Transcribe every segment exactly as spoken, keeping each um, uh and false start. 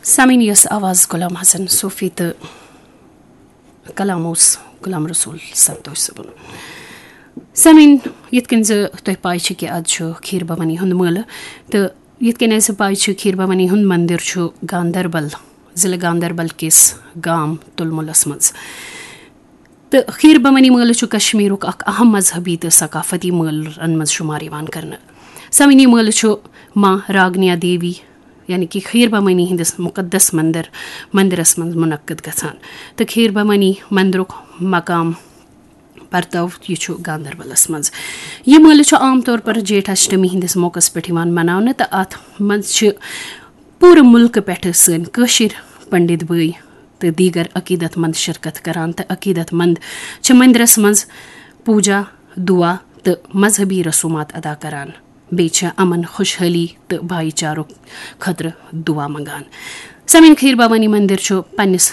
سامعین، یۄس آواز غلام حسن صوفی تہٕ کلام اوس غلام رسول سنتوش صٲبُن۔ سامعین، یِتھ کٔنۍ زِ تۄہہِ پاے چھِ کہِ از چھُ کھیٖر بھوانی ہُنٛد مٲلہٕ، تہٕ یِتھ کٔنۍ اَسہِ پاے چھِ، کھیٖر بھوانی ہُنٛد مندر چھُ گاندربل، ضلع گاندربل کِس گام تُلمُلس منٛز۔ تہٕ کھیٖر بھوانی مٲلہٕ چھُ کشمیٖرُک اکھ اہم مذہبی تہٕ ثقافتی مٲلن منٛز شُمار یِوان کرنہٕ۔ سامعین، یہِ مٲلہٕ چھُ ماں راگنیا دیوی، یعنی کہِ کھیٖر بھوانی ہٕنٛدِس مُقدس مندر، مندرس منٛز منعقد گژھان۔ تہٕ کھیٖر بھوانی مندرُک مقام پرتو، یہِ چھُ گاندربلس منٛز۔ یہِ مٲلہٕ چھُ عام طور پر جیٹھ اشٹمی ہٕنٛدِس موقعس پٮ۪ٹھ یِوان مناونہٕ، تہٕ اتھ منٛز چھِ پوٗرٕ مُلکہٕ پٮ۪ٹھٕ سٲنۍ کٲشِر پنڈت بٲے تہٕ دیگر عقیدت مند شرکت کران، تہٕ عقیدت مند چھِ مندرس منٛز پوجا، دعا تہٕ مذہبی رسومات ادا کران۔ بیٚیہِ چھِ امن، خوشحٲلی تہٕ بھایی چارُک خٲطرٕ دعا منگان۔ سامعین، کھیٖر بھوانی مندر چھُ پننِس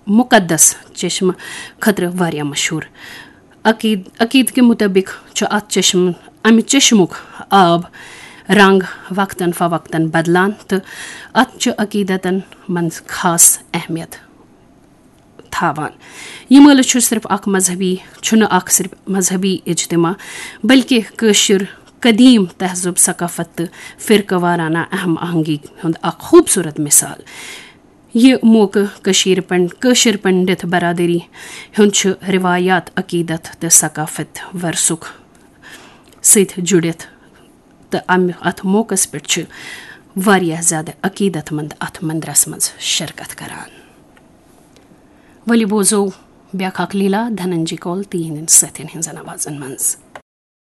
مُقدس چشمہٕ خٲطرٕ واریاہ مشہوٗر۔ عقید-، عقیدٕ کہِ مُطٲبِق چھُ اَتھ چشمہٕ، اَمہِ چشمُک آب رنگ وقتاً فوقتاً بدلان، تہٕ اَتھ چھُ عقیدتن منٛز خاص اہمیت تھاوان۔ یہِ مٲلہٕ چھُ صرف اکھ مذہبی، چھُنہٕ اکھ صرف مذہبی اجتماع، بلکہِ کٲشُر قدیم تہذیب، ثقافت تہٕ فرقہٕ وارانہ اہم آہنگی ہُنٛد اکھ خوبصورت مثال۔ یہِ موقعہٕ کٔشیٖرِ پنڈ-، کٲشِر پنڈت برادری ہُنٛد چھُ روایات، عقیدت تہٕ ثقافت ورثُک سۭتۍ جُڑِتھ، تہٕ امہِ اتھ موقعس پٮ۪ٹھ چھِ واریاہ زیادٕ عقیدت مند اتھ مندرس منٛز شرکت کران۔ ؤلِو بوزو بیاکھ اکھ لیٖلا دھننجی کول تہٕ یِہنٛدٮ۪ن سٲتھٮ۪ن ہٕنٛزن آوازن منٛز۔